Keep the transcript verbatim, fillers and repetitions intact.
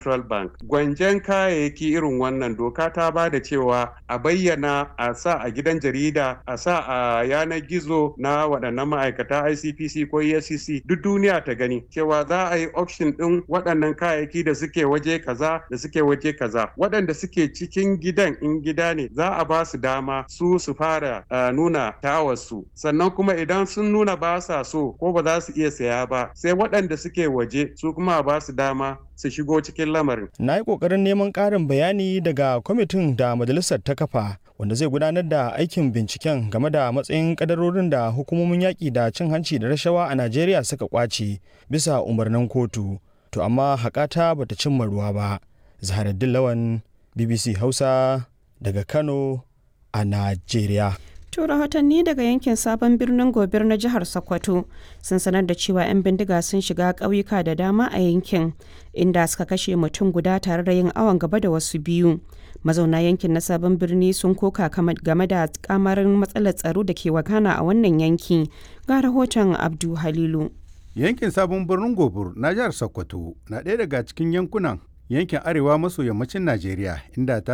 Central Bank. Gwanjen kayayyaki irin wannan doka ta ba da cewa a bayyana, a sa a gidan jarida, a sa a yanar gizo na waɗannan ma'aikata I C P C ko E F C C, duk duniya ta gani cewa za a yi auction ɗin waɗannan kayayyaki da suke waje kaza da suke waje kaza. Waɗanda suke cikin gidan, in gida ne, za a ba su dama su su fara uh, nuna tawarsu. Sannan kuma idan sun nuna ba sa so ko ba za su iya saya ba, sai waɗanda suke waje su kuma ba su dama su shigo cikin lamarin. Na yi ƙoƙarin neman ƙarin bayani daga kwamitin da majalisar ta kafa wanda zai gudanar da aikin binciken game da matsayin kadarorin da hukumomin yaƙi da cin hanci da rashawa a Najeriya suka ƙwace bisa umarnin kotu. To amma haƙata bata cimma ruwa ba. Zaharaddin Lawan, B B C Hausa, daga Kano a Najeriya. To, rahotanni daga yankin Sabon Birnin Gobir na jihar Sokoto sun sanar da cewa 'yan bindiga sun shiga ƙauyuka da dama a yankin, inda suka kashe mutum guda tare da yin awon gaba da wasu biyu. Mazauna yankin na Sabon Birni sun koka game da kamarin matsalar tsaro da ke wakana a wannan yanki. Ga rahoton Abdu Halilu. Yankin Sabon Birnin Gobir na jihar Sokoto na ɗaya daga cikin yankunan yankin arewa maso yammacin Najeriya inda ta